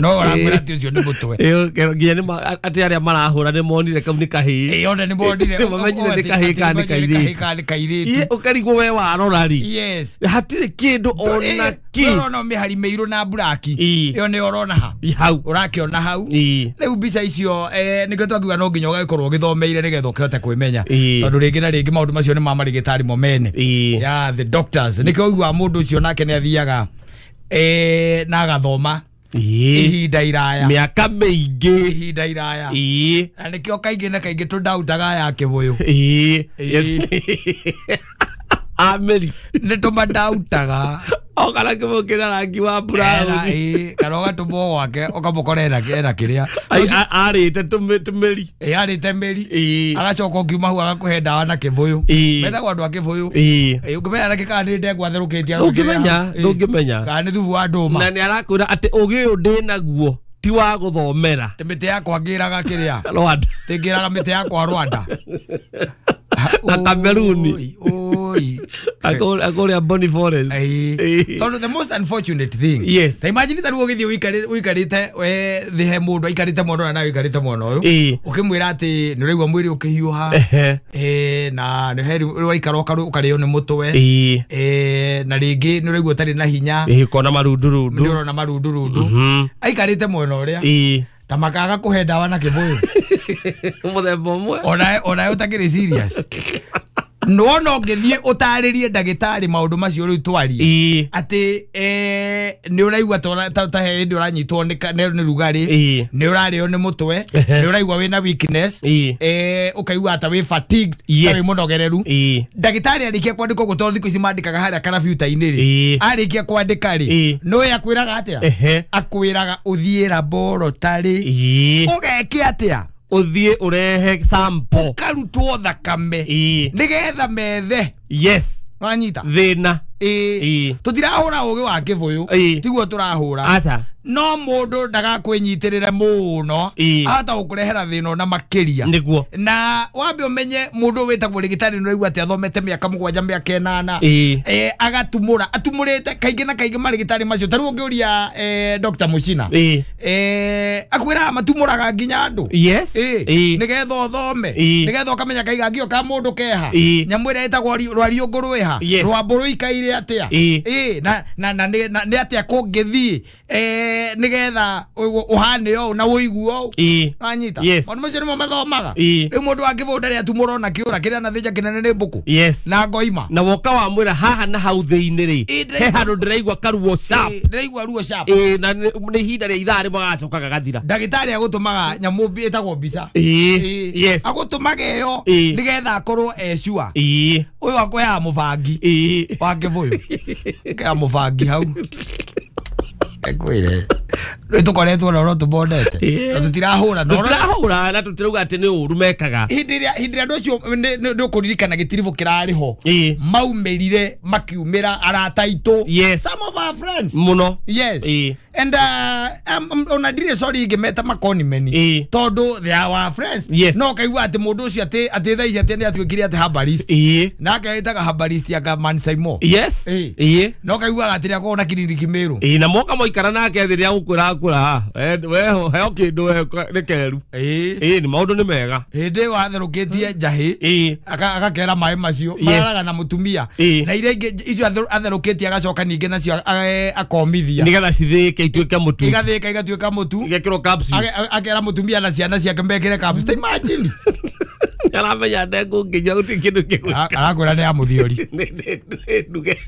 No ũrakwĩra atĩ ũcio nĩ mũtwe. Nginya nĩ atĩ arĩa marahũra nĩ monire kau nĩ kahĩĩ. Ĩĩ ona nĩ monire. Mamenyire nĩ kahĩĩ kana nĩ kairĩtu. Kana nĩ kairĩtu. Ũkarigwo we warora rĩ. Yes. Hatirĩ kĩndũ ona kĩ. Ũrona mĩhari mĩirũ na buraki. Ĩyo nĩ ũrona ha. Hau. Ũrakĩona hau. Rĩu mbica icio nĩkĩo twakiuga no nginya ũgagĩkorwo ũgĩthomeire nĩgetha ũkĩhote kwĩmenya. Tondũ rĩngĩ na rĩngĩ maũndũ macio nĩ ma marĩgĩtarĩ mo mene. Yeah, the doctors. Nĩkĩo ũiguaga mũndũ ũcio nake nĩ athiaga na agathoma ihinda iraya, mĩaka mĩingĩ, ihinda iraya. Na nĩkĩo kaingĩ na kaingĩ tũndautaga ya kĩbũyũ. Ameri nĩ tũmandautaga. Okana kĩbũyũ kĩna rangi wa brown. Kana ũgatũmwo gwake ũkamũkora ena kĩrĩa arĩte tũmĩri. Arĩte mĩri. Agacoka ũkiuma hau agakũhe ndawa na kĩbũyũ. Metagwo andũ a kĩbũyũ. Ũngĩmenya nakĩ kana nĩ ndengwa atherũkĩtie. Ndũngĩmenya, ndũngĩmenya. Kana nĩ thubu wa ndũma. Na nĩ arakwĩra atĩ ũgĩ ũyũ ndĩnaguo ti wa gũthomera. Ti mĩtĩ yakwa ngĩraga kĩrĩa. Rwanda. Ti ngĩraga mĩtĩ yakwa Rwanda. Na Kameruni. Akũrĩa Bonny Forest. Tondũ the most unfortunate thing. Yes. Ta imagine ta rĩu ũgĩthiĩ ũikarĩte thĩ he mũndũ aikarĩte mwena ũyũ na ũikarĩte mwena ũyũ. Ũkĩmwĩra atĩ nĩ ũraigua mwĩrĩ ũkĩhiũha. Na nĩ he waikara ũkarĩo nĩ mũtwe. Na rĩngĩ nĩ ũraigua ũtarĩ na hinya. Ũkona marundurundu. Nĩ ũrona marundurundu. Aikarĩte mwena ũrĩa. Ta makaga kũhe ndawa na kĩbũyũ. Mũthemba ũmwe. Ona ũtakĩrĩ serious. Nĩwona ũngĩthiĩ ũtarĩrie ndagĩtarĩ maũndũ macio rĩu twarie. Atĩ nĩ ũraigua ta he hĩndĩ ũranyitwo nĩ rugarĩ, nĩ ũrarĩo nĩ mũtwe, nĩ ũraigua wĩna weakness, ũkaigua ta wĩ fatigued, ta wĩ mũnogereru. Ndagĩtarĩ arĩkia kwandĩka ũguo tondũ thikũ ici mandĩkaga harĩa karabiuta-inĩ rĩ, arĩkia kwandĩka rĩ, nĩũĩ akwĩraga atĩa? Akwĩraga ũthiĩ laboratory. Ũgeke atĩa? Ũthiĩ ũrehe sample. Ũkarutwo thakame. Nĩgetha methe. Yes. Wanyita? Thĩna. Tũtirahũra ũgĩ wa kĩbũyũ. Tiguo tũrahũra. Aca. No mũndũ ndagakwĩnyitĩrĩre mũno. Ahota gũkũrehera thĩna ona makĩria. Nĩguo. Na wambe ũmenye mũndũ wĩtagwo rĩgĩtarĩ nĩ ũraigua atĩ athomete mĩaka 7 mĩaka 8. Agatumũra. Atumũrĩte kaingĩ na kaingĩ marĩgĩtarĩ macio. Ta rĩu ũngĩũria Dr. Muchina. Akwĩraga matumũraga nginya andũ. Yes. Nĩgetha ũthome. Nĩgetha ũkamenya kaigangio ka mũndũ keha. Nyamũ ĩrĩa ĩtagwo rwariũngũ rwĩha. Rwambũ rũikaire atĩa. Na nĩ atĩa kũngĩthiĩ nĩgetha ũhane ũũ na ũigue ũũ. Wanyita? Maũndũ macio nĩmo mathomaga. Rĩu mũndũ wa kĩbũyũ ndarĩ atumũra ona kĩũra kĩrĩa anathĩnja kĩnene nĩ mbũkũ. Yes. Na ngoima. Na woka wamwĩra haha na hau thĩinĩ rĩ, he handũ ndĩraigua karuo sharp. Ndĩraigua ruo sharp. Na nĩ ihinda rĩa ithaa rĩmwe agacoka gagathira. Ndagĩtarĩ agũtũmaga nyamũ ĩtagwo mbica. Yes. Agũtũmaga ĩyo nĩgetha akorwo e sure. Ũyũ akũheaga mũbangi wa kĩbũyũ. Akũheaga mũbangi hau. Ekwire. Rĩu tũkoretwo na ũrĩa tũbondete. Na tũtirahũra. Tũtirahũra na tũtirauga atĩ nĩ ũru mekaga. Hĩndĩ ĩrĩa andũ acio nĩ ũkũririkana gĩtiribũ kĩrarĩ ho. Maumĩrire makiumĩra arata aitũ. Yes. Some of our friends. Mũno. Yes. And ona ndirĩ sorry ingĩmeta makoni meni. Tondũ they are our friends. Yes. No ũkaigua atĩ mũndũ ũcio atĩ thaa ici atĩ nĩ atuĩkire atĩ herbalist. Nake ĩtaga herbalist anga Man Saimo. Yes. No ũkaiguaga atĩ nĩakoragwo na kiriniki Mĩrũ. Na moka moikara nake thĩ rĩrĩa gũkwĩra akwĩra we heo kĩndũ we nĩ keru. Nĩ maũndũ nĩ mega. Hĩndĩ ĩyo atherũkĩtie njahĩ agakera maĩ macio mararaga na mũtumia. Na iria ingĩ icio atherũkĩtie agacoka ningĩ nacio akomithia. Nĩgetha cithĩĩke ituĩke mũtu. Igathĩĩka igatuĩka mũtu. Igekĩrwo capsules. Akera mũtumia na ciana ciake mekĩre capsules. Ta imagine. Aramenya ndengũ nginya gũtirĩ kĩndũ kĩgwĩka. Arakwĩra nĩ ya mũthiori. Nduge.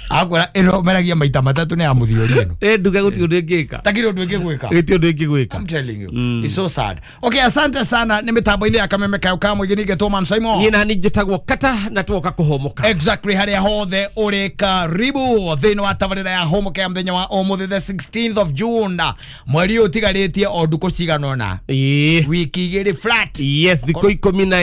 Arakwĩra ĩno meragia maita matatũ nĩ ya mũthiori ĩno. Nduge gũtirĩ ũndũ ĩngĩka. Takiri ũndũ ĩngĩgwĩka. Gũtirĩ ũndũ ĩngĩgwĩka. I'm telling you. It's so sad. Okay, asante sana nĩ mĩtambo-inĩ ya Kameme Kayo ka Mũingĩ ningĩ Man Saimo. Niĩ nani njĩtagwo Kata na twoka kũhũmũka. Exactly harĩa hothe ũrĩ karibu thĩinĩ wa tabarĩra ya Hũmũka ya mũthenya wa ũmũthĩ the 16th of June. Mweri ũyũ ũtigarĩtie o ndukũ cigana ũna. Wiki igĩrĩ flat. Yes, thikũ 14.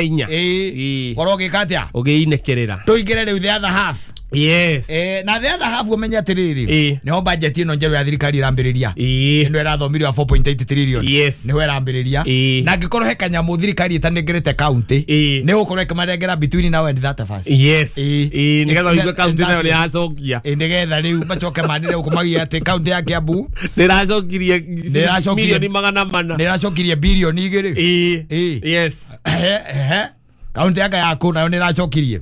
Korwo ũgĩka atĩa? Ũgĩinekerera. Tũingĩre rĩu the other half. Yes. Na the other half ũmenye atĩrĩrĩ, nĩho budget ĩno njerũ ya thirikari ĩrambĩrĩria. Ĩno ĩrathomirio ya 4.8 trillion. Yes. Nĩho ĩrambĩrĩria. Na angĩkorwo he kanyamũ thirikari ĩtanengerete county, nĩ gũkorwo ĩkĩmanengera between now and that first. Yes. Nĩgetha ũigue county nayo nĩ yacokia. Nĩgetha rĩu macoke manĩre gũkũmagia atĩ county ya Kiambu nĩ ĩracokirie milioni 400. Nĩ ĩracokirie bilioni 2. Yes. Kaunti yaka yaku nayo nĩ ĩracokirie.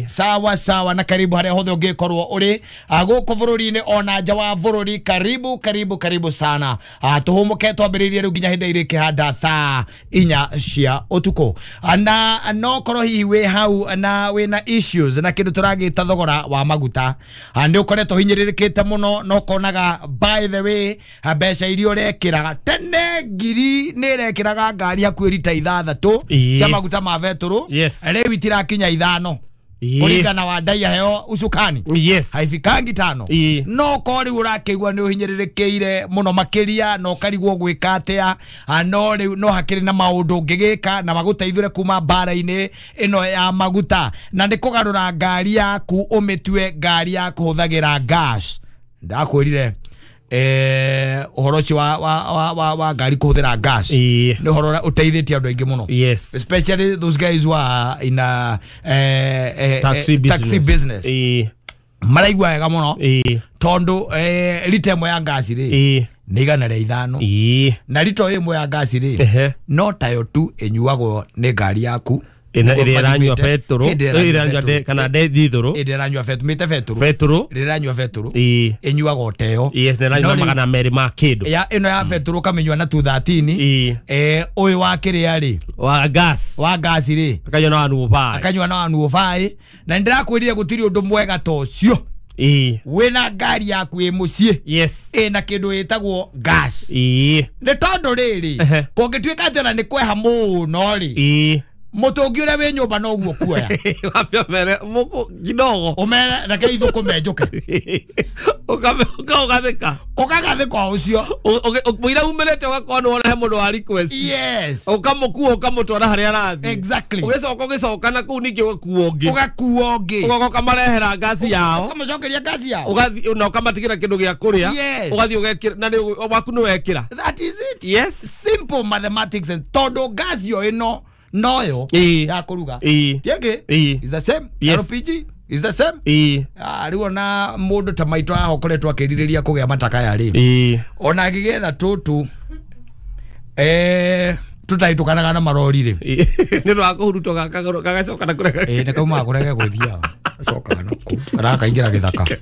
Sawa sawa, na karibu harĩa hothe ũngĩkorwo ũrĩ gũkũ bũrũri-inĩ ona nja wa bũrũri, karibu karibu karibu sana. Tũhũmũke twambĩrĩirie rĩu nginya hĩndĩ ĩrĩkĩhanda thaa 4 cia ũtukũ. Na no korwo hihi wĩ hau na wĩna issues na kĩndũ tũragĩta thogora wa maguta, nĩ ũkoretwo hinyĩrĩrĩkĩte mũno na ũkonaga by the way mbeca iria ũrekĩraga tene ngiri nĩ ĩrekĩraga ngari hakuhĩ rita 6 cia maguta ma betũrũ. Yes. Rĩu itirakinya 5. Kũringana wa ndai heo usukani. Yes. Haifikangi 5. No ko rĩu ũrakĩigua nĩ ũhinyĩrĩrĩkĩire mũno makĩria na ũkarigwo gwĩka atĩa, no rĩu no hakĩrĩ na maũndũ ũngĩgĩka na magũteithũre kuma mbara-inĩ ĩno ya maguta, na nĩ kũgarũra ngari yaku ũmĩtue ngari ya kũhũthagĩra gas. Ndakwĩrire ũhoro ũcio wa ngari kũhũthĩra gas nĩ ũhoro ũrĩa ũteithĩtie andũ aingĩ mũno. Yes. Especially those guys who are in a taxi business. Maraigua wega mũno tondũ rita ĩmwe ya ngasi rĩ nĩ 105. Na rita ĩmwe ya ngasi rĩ no tayo tu ĩnyuagwo nĩ ngari yaku ĩrĩa ĩranyua betũrũ, kana ndithũrũ, ĩrĩa ĩranyua betũrũ, ĩrĩa ĩranyua betũrũ ĩnyuagwo teyo. Yes, na ĩranyua 200 ma kĩndũ. Ya ĩno ya betũrũ ũkamĩnyua na 213. Ũyũ wa kĩrĩa rĩ wa gas, wa gas rĩ akanyua na 105, akanyua na 105. Na nĩndĩrakwĩrire gũtirĩ ũndũ mwega ta ũcio. Wĩna ngari yaku ĩ mũciĩ. Yes. Ĩna kĩndũ ĩtagwo gas. Nĩ tondũ rĩrĩ kũngĩtuĩka atĩ ona nĩ kweha mũno rĩ, mũtũngi ũrĩa wĩ nyũmba noguo kuoya. Wambia ũmere mũkũ kidogo. Ũmere reke ithũkũme njũke. Ũkagathĩka. Ũkagathĩka ũcio. Mũira umĩrĩte ũgakorwo nĩ wona he mũndũ wa request. Yes. Ũkamũkua ũkamũtwara harĩa arathiĩ. Exactly. Ũgĩcoka ũgĩcoka na kũu ningĩ ũgakua ũngĩ. Ũgakua ũngĩ. Ũgoka ũkamarehera ngasi yao. Ũkamacokeria ngasi yao. Ũgathiĩ na ũkamatigĩra kĩndũ gĩa kũrĩa. Yes. Ũgathiĩ ũgekĩra na waku nĩ wekĩra. That is it. Yes. Simple mathematics and tondũ ngasi yo ĩno noyo ya kũruga. Tiengĩ is the same. Yes. LPG is the same. Rĩu ona mũndũ ta maitũ haha ũkoretwo akĩrirĩria kũgĩa matakaya rĩ, ona agĩgetha tũtũ tũtahĩtũkanaga na marori rĩ, nĩ ũndũ wa kũhurutwo gagacoka na kũrĩa. Nĩ kaumaga kũrĩa gegũthiaga gacokaga na kũu kana gakaingĩra gĩthaka.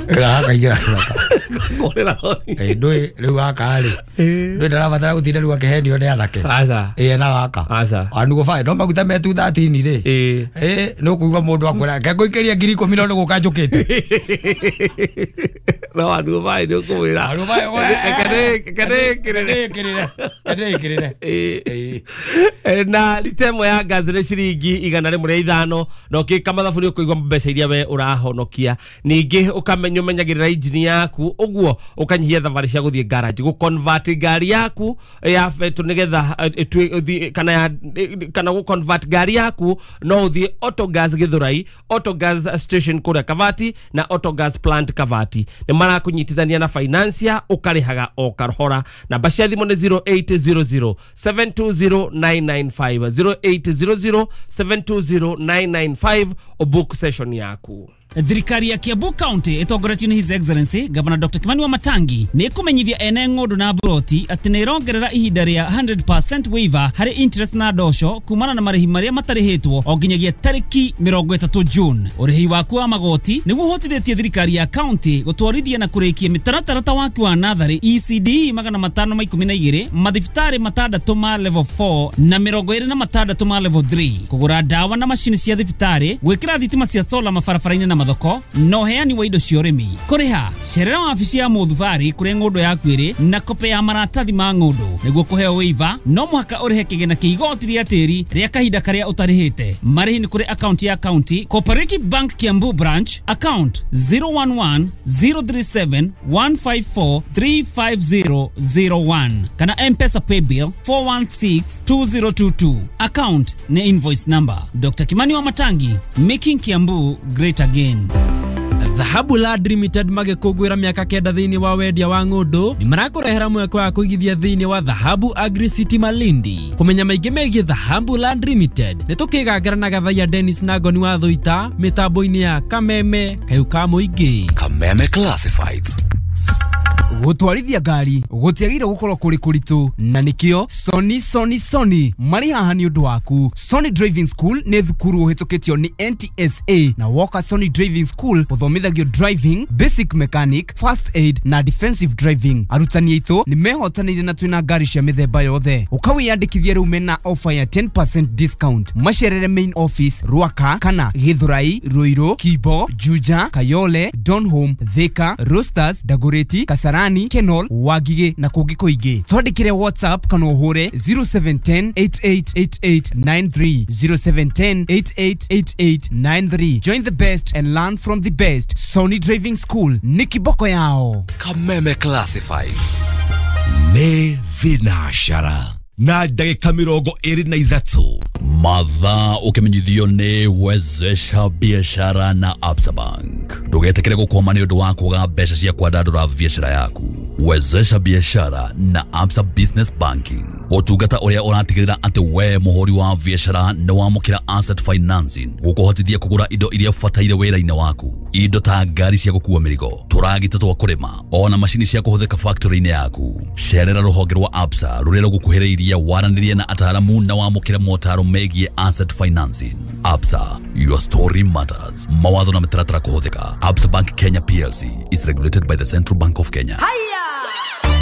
Gakaingĩra gĩthaka. Ndũĩ rĩu gaka rĩ, ndũĩ ndarabatara gũtinda rĩu akĩhenio nĩ anake. Aca. Na gaka. Aca. Wanugo no maguta me 213 rĩ. Nĩ ũkũigua mũndũ akwĩra reke ngũikĩrie 10,000 no nĩ gũka njũkĩte. No wanugo nĩ ũkũmwĩra. Reke ndĩkĩrĩre. Na rita ĩmwe ya gas nĩ ciringi 105 na ũkĩka mathabu nĩ ũkũigua mbeca iria we ũrahonokia. Ningĩ ũkamenya ũmenyagĩrĩra injini yaku ũguo ũkanyihia thabarĩ cia gũthiĩ garage, gũ convert ngari yaku ya betũrũ nĩgetha kana gũ convert ngari yaku no ũthiĩ Autogas Gĩthũrai, Autogas station kũrĩa Kavati na Autogas plant Kavati. Nĩ marakũnyitithania na financia ũkarĩhaga o kahora. Namba cia thimũ nĩ 0800 720 995, 0800 720 995 ũbook session yaku. Thirikari ya Kiambu County ĩtongoretio nĩ His Excellency Governor Dr. Kimani Wamatangi nĩ ĩkũmenyithia ene ng'ũndũ na mburoti atĩ nĩ ĩrongerera ihinda rĩa 100% waiver harĩ interest na ndosho kumana na marĩhi marĩa matarĩhĩtwo o nginyagia tarĩki 30 June. Ũrĩhi waku wa magoti nĩguo ũhotithĩtie thirikari ya county gũtwarithia na kũrĩkia mĩtaratara ta waki wa natharĩ ECD 512, mathibitarĩ 6 ma level 4 na 26 ma level 3, kũgũra ndawa na macini cia thibitarĩ, gwĩkĩra thitima cia solar mabarabara-inĩ na mathoko na ũheani wa indo cia ũrĩmi. Kũrĩha cerera wabici ya mũthubarĩ kũrĩa ng'ũndũ yaku ĩrĩ na kope ya maratathi ma ng'ũndũ. Nĩguo kũheo waiver no mũhaka ũrĩhe kĩgĩna kĩa igoti rĩa tĩri rĩa kahinda karĩa ũtarĩhĩte. Marĩhi nĩ kũrĩ akaunti ya county Cooperative Bank Kiambu branch account 011 037 154 35001 kana M-Pesa paybill 416 2022. Account ni invoice number. Dr. Kimani Wamatangi, making Kiambu great again. Dhahabu Land Limited magĩkũngũĩra mĩaka 9 thĩinĩ wa wendia wa ng'ũndũ nĩ marakũrehera mweke wa kũigithia thĩinĩ wa Dhahabu Agri City Malindi. Kũmenya maingĩ megiĩ Dhahabu Land Limited nĩ tũkĩgangara na Gathaiya Dennis na Ngoni wa Thũita mĩtambo-inĩ ya Kameme Kayũ ka Mũingĩ. Kameme Classifieds. Gũtwarithia ngari gũtiagĩrĩire gũkorwo kũrĩ kũritũ na nĩkĩo Sony Sony Sony marĩ haha nĩ ũndũ waku. Sony Driving School nĩ thukuru ũhĩtũkĩtio nĩ NTSA na woka Sony Driving School ũthomithagio driving, basic mechanic, first aid na defensive driving. Arutani aitũ nĩ mehotanĩire na twĩna ngari cia mĩthemba yothe. Ũkawĩyandĩkithia rĩu mena offer ya 10% discount. Macerere main office Ruaka kana Githurai, Ruiru, Kibo, Juja, Kayole, Donholm, Thika, Roasters, Dagoretti, Kasarani, Kenol, Wangigĩ na kũngĩ kũingĩ. Twandĩkĩre WhatsApp kana ũhũre 0710 888893 0710 888893. Join the best and learn from the best. Sony Driving School ni kiboko yao. Kameme Classifieds. Nĩ thinacara na ndagĩka 23 mathaa ũkĩmenyithio nĩ Wezesha Biashara na Absa Bank. Ndũgetĩkĩre gũkwama nĩ ũndũ wa kwaga mbeca cia kwandandũra biashara yaku. Wezesha Biashara na Absa Business Banking, ũtungata ũrĩa ũratigĩrĩra atĩ we mũhũri wa biashara nĩ wamũkĩra asset financing gũkũhotithia kũgũra indo iria ũbataire wĩra-inĩ waku, indo ta ngari cia gũkua mĩrigo, tũragita twa kũrĩma, ona macini cia kũhũthĩka factory-inĩ yaku. Cerera rũhonge rwa Absa rũrĩa rũgũkuhĩrĩirie, waranĩrie na ataaramu na wamũkĩre motaro megiĩ asset financing. Absa, your story matters. Mawatho na mĩtaratara kũhũthĩka. Absa Bank Kenya PLC is regulated by the Central Bank of Kenya.